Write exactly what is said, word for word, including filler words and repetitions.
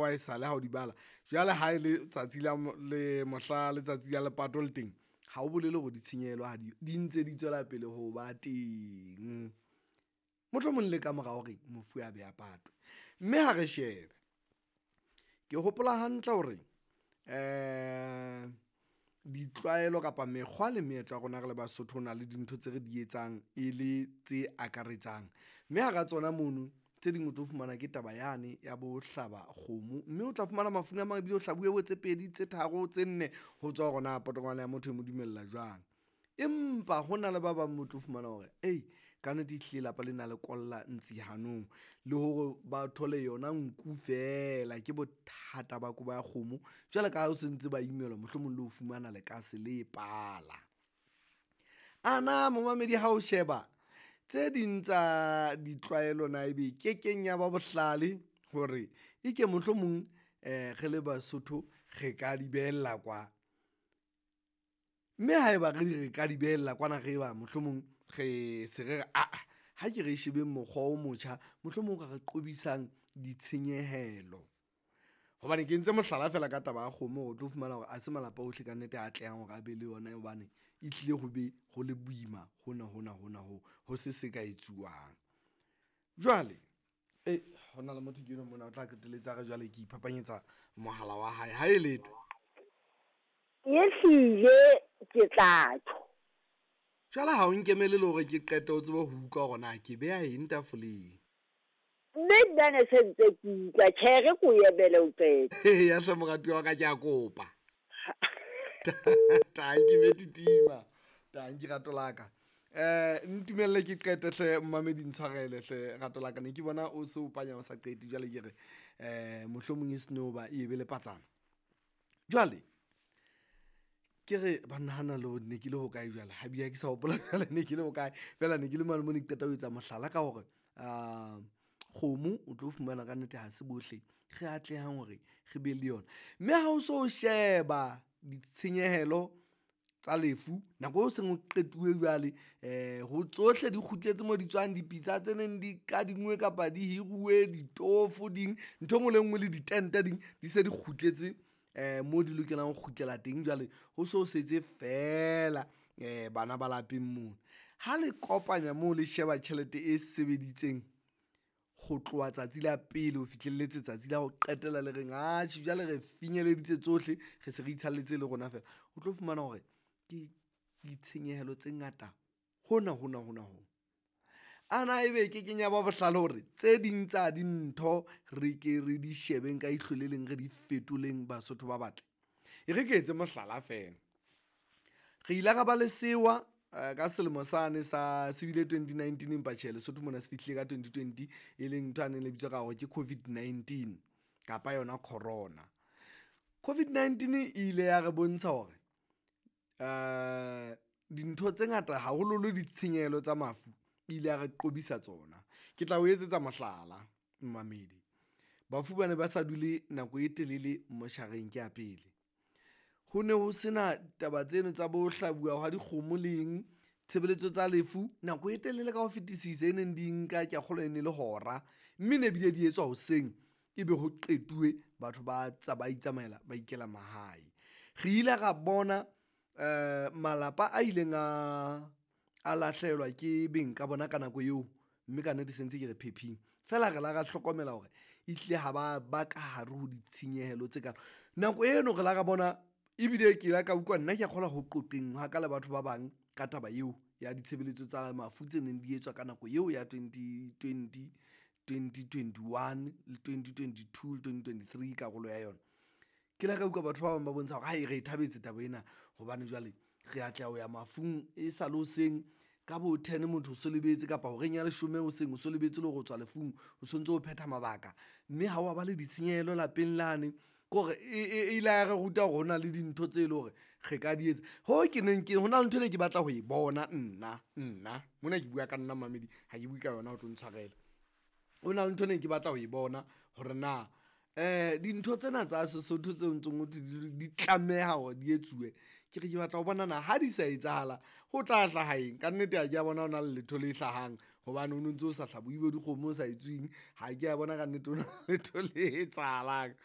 Wa e sale ha o di bala. Jwale ha e le tsatsi la le mohla letsatsi la lepato le teng, ha o bolele hore ditshenyehelo ha di di ntse di tswela pele ho ba teng. Mohlomong le ka mora hore mofu a be a patwe. Mme ha re shebe, ke hopola hantle hore ditlwaelo kapa mekgwa le meetlo ya rona re le Basotho ho na le dintho tse re di etsang e le tse akaretsang. Mme hara tsona mono tse ding o tlo fumana ke taba yane ya bo hlaba kgomo, mme o tla fumana mafung a mang ebile o hlabuwe bo tse pedi, tse tharo, tse nne ho tswa hore na potongwane ya motho e mo dumella jwang. Empa ho na le ba bang mo tlo fumana hore kannete ehlile lapa lena le kolla ntsi hanong le hore ba thole yona nku feela ke bothata ba kobo ya kgomo. Jwalo ka ha o sentse ba imelwa mohlomong le ho fumana lekase le pala. A na momamedi ha o sheba tse ding tsa ditlwaelo na ebe kekeng ya ba bohlale hore e ke mohlomong re le Basotho re ka di behella kwa. Mme haeba re re ka di behella kwana, re ba mohlomong re se re re aa ha ke re shebeng mokgwa o motjha, mohlomong o ka re qobisang ditshenyehelo. Hobane ke entse mohlala feela ka taba ya kgomo hore o tlo fumana hore ha se malapa ohle kannete a atlehang hore a be le yona hobane ehlile ho be ho le boima hona hona hona ho ho se se ka etsuwang. Jwale ho na le motho ke enwa mona o tla qetelletse a re jwale ke iphapanyetsa mohala wa hae, ha e letho. Ehlile ke tla tjho. Jwale ha o nkemele le hore ke qete o tsebe ho utlwa hore na ke beha eng tafoleng. Mme nna ne se ntse ke utlwa, tjhe re ko emele o qete. Eya hle moratuwa wa ka ke a kopa. Tanki Metitima, tanki rato la ka. Ntumelle ke qete hle momamedi ntshwarele hle rato la ka. Ne ke bona o se o panya o sa qete jwale ke re mohlomong e seno ba e be le patsana. Jwale ke re banna hana le ne ke le hokae jwale ha bile ha ke sa hopola jwale ne ke le hokae. Feela ne ke le mane mo ne ke qeta ho etsa mohlala ka hore kgomo o tlo fumana kannete ha se bohle re atlehang hore re be le yona. Mme ha o so sheba ditshenyehelo tsa lefu nako eo seng ho qetuwe jwale ho tsohle di kgutletse moo di tswang. Dipitsa tse neng di kadinngwe kapa di hiruwe ditofo ding. Ntho e nngwe le e nngwe le ditente ding di se di kgutletse moo di lokelang ho kgutlela teng. Jwale ho so setse feela bana ba lapeng mona. Ha le kopanya moo le sheba tjhelete e sebeditseng ho tloha tsatsi la pele ho fihlelletse tsatsi la ho qetela le reng atjhe jwale re finyeleditse tsohle, re se re itshalletse le rona feela. O tlo fumana hore ke ditshenyehelo tse ngata hona hona hona ho. A na ebe e kekeng ya ba bohlale hore tse ding tsa dintho re ke re di shebeng ka ihlo le leng, re di fetoleng Basotho ba batle? E re ke etse mohlala feela. Re ile ra ba le sewa ka selemo sane sa se bile twenty nineteen, empa tjhe Lesotho mona se fihlile ka twenty twenty, e leng ntho yane e ne bitswa ka hore ke COVID nineteen kapa yona corona. COVID nineteen e ile ya re bontsha hore dintho tse ngata haholoholo ditshenyehelo tsa mafu e ile ya re qobisa tsona. Ke tla o etsetsa mohlala momamedi. Bafu ba ne ba sa dule nako e telele moshareng ke ya pele. Ho ne ho sena taba tseno tsa bo hlabuwa hwa dikgomo le eng. Tshebeletso tsa lefu nako e telele ka ho fetisisa e neng di nka ke a kgolwa e ne le hora, mme ne bile di etswa hoseng ebe ho qetuwe batho ba ba itsamaela ba ikela mahae. Re ile ra bona malapa a ileng a a lahlehelwa ke beng ka bona ka nako eo, mme kannete se ntse ke re phepheng. Feela re la ra hlokomela hore ehlile ha ba ba ka hare ho ditshenyehelo tse kalo. Nako eno re la ra bona ebile ke ile ka utlwa nna ke a kgolwa ho qoqeng hwa ka le batho ba bang ka taba eo ya ditshebeletso tsa mafu tse neng di etswa ka nako eo ya twenty twenty, twenty twenty one le twenty twenty two le twenty twenty three karolo ya yona. Ke la ka utlwa batho ba bang ba bontsha hore re e thabetse taba ena hobane jwale re atleha ho ya mafung e sale hoseng ka bo ten motho o so lebetse kapa horeng ya leshome hoseng o so lebetse le hore o tswa lefung, o sontso o phetha mabaka. Mme ha wa ba le ditshenyehelo lapeng lane. Ke hore e ile ya re ruta hore ho na le dintho tse leng hore re ka di etsa. Hoo ke neng ke ho na le ntho e ne ke batla ho e bona nna nna mona ke bua ka nna momamedi ha ke bue ka yona o tlo ntshwarela. Ho na le ntho e ne ke batla ho e bona hore na dintho tsena tsa Sesotho tseo ntsong ho thwe di di tlameha hore di etsuwe. Ke re ke batla ho bona na ha di sa etsahala ho tla hlaha eng. Kannete ha ke a bona ho na le letho le hlahang hobane ho no ntso sa hlabuwe bo dikgomo, ho sa etsuwing. Ha ke a bona kannete ho na letho le etsahalang.